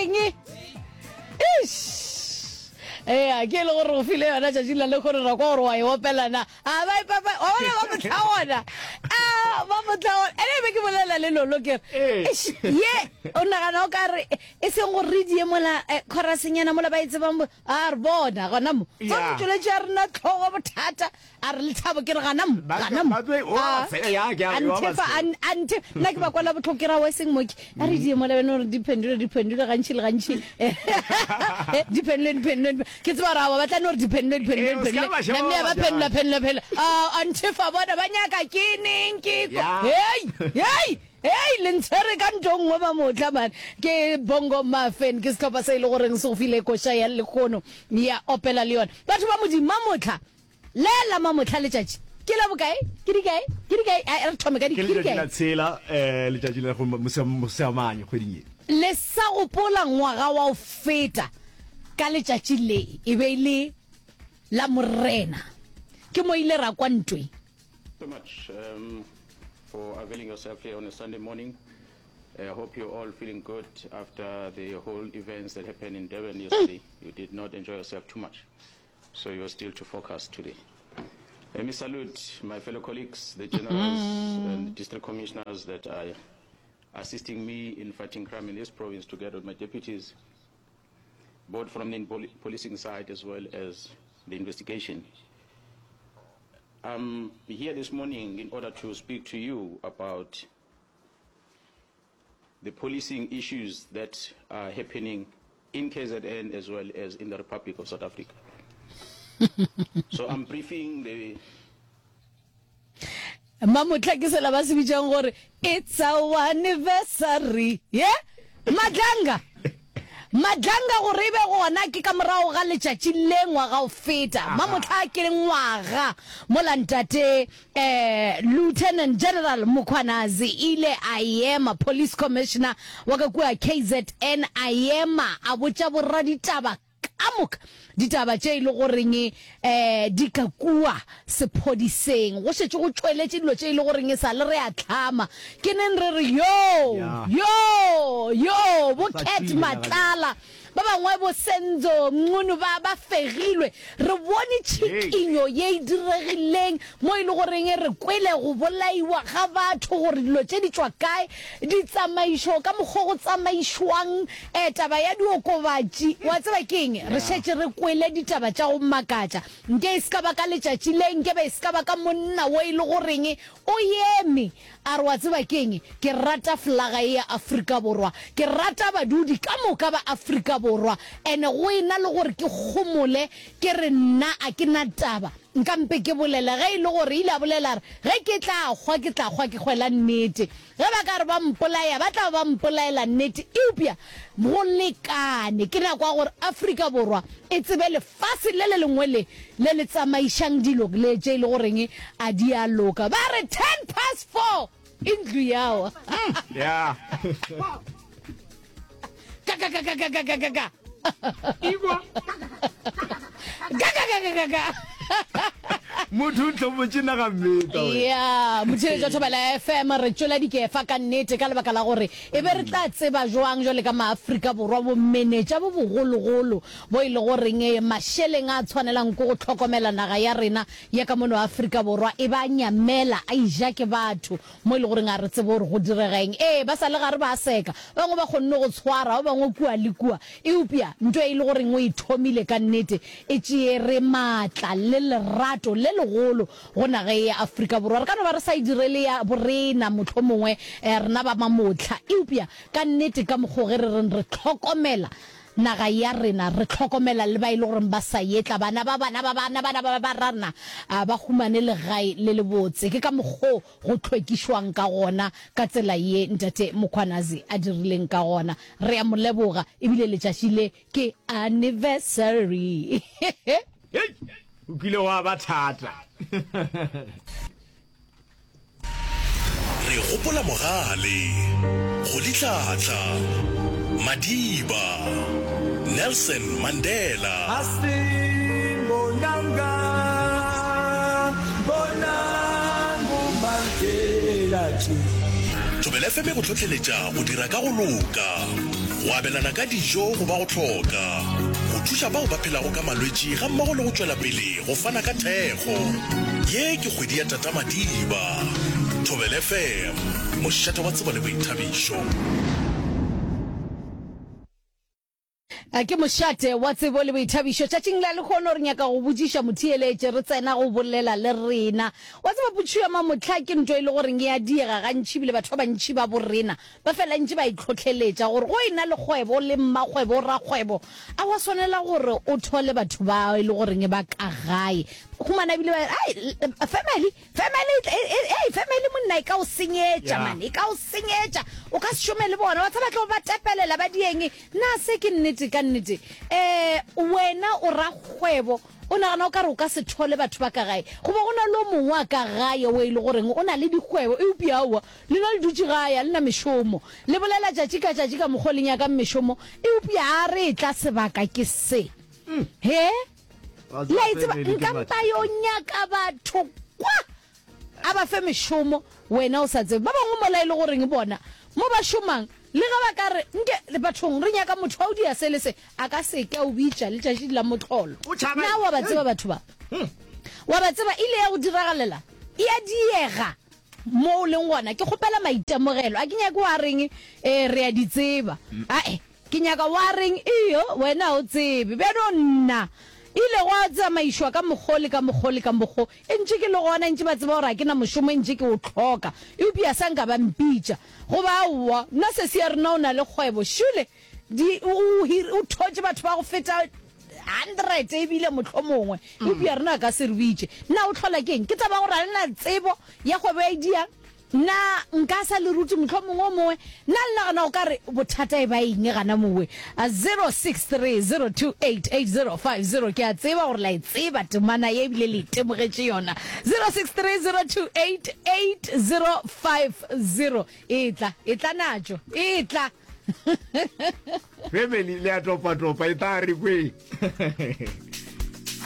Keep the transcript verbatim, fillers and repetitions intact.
goreng Eish. Ea, ke e le gore go file yona tšatši la lekgono ra kwa gore wa e opela na a ba ipapa wa bona ba motla gona a ba motla gona ene be ke bolela le lolo ke re eish, ye o nagana o ka re e seng gore re die mola eh, chorusnyana mola ba e tsebang bo- a re bona gona mo tsa Ya. motšweletši ya rena tlhogo bothata a re lethabo ke re gana mo Ba- gana mo ba tlo- o Ah, ba tshela, ya, ke a- a o ba nthefa, tshela. a n- a nthe nna ke ba kwala botlhoko ke ra wa seng moke a re die mola bene gore di phendule di phendule gantši le gantši Eh, di phendule di phendule di- ke tseba gore awa ba tla no gore di phendule di phendule Eh, di o ska phendule ba sheba namne ba ba ba phendula jang. phendula phendula a nthefa bona ba nyaka ke neng ke ko Ya. hei hei hei le ntshwere ka nto nngwe mamotla man ke bongo mafen ke setlhopha se e le goreng se go file koša ya lekgono ya opela le yona batho ba modimo mamotla le la mamotla letšatši ke la bokae ke dikae ke dikae a re thome ka di Ke ke letšatši dikae la tshela eh letšatši la go Moseamane kgweding ye. le sa gopola ngwaga wa go feta ka letšatši le e be e le la morena ke mo ile ra kwa ntweng so much um, for availing yourself here on a Sunday morning. I hope you're all feeling good after the whole events that happened in Durban yesterday. You did not enjoy yourself too much, so you're still to focus today. Let me salute my fellow colleagues, the generals and district commissioners that are assisting me in fighting crime in this province together with my deputies, both from the poli- policing side as well as the investigation. I'm here this morning in order to speak to you about the policing issues that are happening in K Z N as well as in the Republic of South Africa. So I'm briefing the Mamotla ke sela ba se bitšang gore it's our anniversary ye Madlanga Madlanga gore e be gona ke ka morago ga letšatši le ngwaga o feta mamotla ke ngwaga mola ntate eh Lieutenant General Mkhwanazi ile a ema police commissioner wa ka kua K Z N a ema a botša boraditaba ka moka ditaba tše e le goreng eh di ka kua sephodiseng go šetše go tšweletše dilo tše e le goreng e sa le re a tlhama ke neng re re yo Ya. yo yo bo Sa Cat tšwile naga Matlala ba bangwe bo Senzo Mncunu ba ba fegilwe re bone tšhikinyo ye e diregileng mo e le goreng re kwele go bolaiwa ga batho gore dilo tše di tšwa kae ditsamaišo ka mokgwa go tsamaišwang eh taba ya diokobatši wa tseba ke eng re šetše re kwele ditaba tša go makatša nke e se ka ba ka letšatši le nke be e se ka ba ka monna wo e le goreng o eme a re wa tseba ke eng ke rata flaga ye ya Afrika Borwa ke rata badudi ka moka ba Afrika Borwa ene go ena le gore ke kgomole ke re nna a ke na taba nka mpe ke bolela ge e le gore ile a bolela re ge ke tla hwa ke tla hwa ke hwela nnete ge ba ka re ba mpolaya ba tla ba mpolaela nnete eupša go lekane ke nako ya gore Afrika Borwa e tsebe lefase le le lengwe le le le tsamaišang dilo le tše e le goreng a di a loka ba re ten past four e ntlo yawa Ya. ka ka ka ka ka ka ka ka ka Igwa. ka ka ka ka ka ka Motho o tlhobotše naga mmeta wena. Ya, motheeletši wa Thobela F M re tšwela dikefa ka nnete ka lebaka la gore e be re tla tseba jwang jwale ka maAfrika Borwa bomenetša bo bogologolo bo e le goreng e mašeleng a tshwanelang ke go hlokomela naga ya rena ya ka mono Afrika Borwa e ba nyamela a ija ke batho mo e le goreng a re tsebe gore go direga eng. Ee, ba sa le gare ba seka ba bangwe ba kgonne go tshwara ba bangwe kua le kua eupša ntho e le goreng o e thomile ka nnete e tšeere maatla le lerato le legolo go naga ye ya Afrika Borwa. Re ka no ba re sa e direle ya borena mohlomongwe eh, rena ba mamotla eupša ka nnete ka mokgwa ge re reng re hlokomela naga ya rena re hlokomela le ba e le goreng ba sa etla bana ba bana ba bana bana ba ba rena a ba humane legae le lebotse ke ka mokgwa go hlwekišwang ka gona ka tsela ye ntate Mkhwanazi a dirileng ka gona re a mo leboga ebile letšatši le ke anniversary. Hei, o kile wa ba thata. Re gopola mogale, Rolihlahla, Madiba, Nelson Mandela. Asimbonanga, bonang Mandela tše. Thobela Thobela F M e go hlohleletša go dira ka go loka, go abelana ka dijo go ba go hloka, go thuša bao ba phelago ka malwetši gammogo le go tšwela pele go fana ka thekgo. Ye ke kgwedi ya Tata Madiba. Thobela F M, mošate wa tsebo le boithabišo. Ke mošate wa tsebo le boithabišo. Tšatšing la lehono re nyaka go botšiša motheeletši, re tsena go bolela le rena. Wa tseba potšišo ya mamohla ke ntho e le goreng e a diega gantši ebile batho ba bantši ba borena ba fela ntše ba itlhohleletša gore go e na le kgwebo le mmakgwebo, rakgwebo, a wa swanela gore o thole batho ba e le goreng ba ka gae. Humana ebile ba re, ai, family, family, ei, family monna e ka o senyetša man, e ka o senyetša, o ka se šome le bona, wa tseba tlo ba tepelela ba dieng. Na se ke nnete ka nnete? Um wena o rakgwebo, o nagana o ka re o ka se thole batho ba ka gae? Goba go na le o mongwe a ka gae o e le goreng o na le dikgwebo, eupša aowa, lena le dutše gae, a le na mešomo. Le bolela tšatši ka tšatši ka mokgwa o le nyakang mešomo, eupša a re etla sebaka ke se. He? Le a e tseba, nka mpa yo nyaka batho kwa, a ba fe mešomo, wena o sa tsebe. Ba bangwe mola e le goreng bona mo ba šomang, le ge ba ka re, nke, bathong, re nyaka motho wa o dia se le se, a ka se ke a o bitša letšatši la mohlolo. Na wa ba tseba batho ba? Wa ba tseba, e ile ya go diragalela, e a diega mo o leng gona. Ke kgopela maitemogelo, a ke nyake wa reng, ee, re a di tseba. Ae, ke nyaka wa reng, iyo, wena o tsebe. Bjano nna, ile gwa tsamaišwa ka mokgo le ka mokgo le ka mokgo, e ntše ke le gona, e ntše ba tseba gore ga ke na mošomo, e ntše ke o hloka, eupša sa nka ba mpitša. Goba aowa, nna sesi ya rena o na le kgwebo, šule, di, o, o, o thotše batho ba go feta hundred ebile mohlomongwe, eupša rena a ka se re bitše. Na o hlola ke eng? Ke taba ya gore ga le na tsebo ya kgwebo ya e diang. Na nka sa le rute mohlomongwe o mongwe? Na le nagana o ka re bothata e ba eng gana mowe? zero six three zero two eight eight zero five zero Ke a tseba gore la e tseba temana ye ebile le itemogetše yona. zero six three zero two eight eight zero five zero Etla, etla natšo, etla. Family le a topa-topa, e tla re kwe.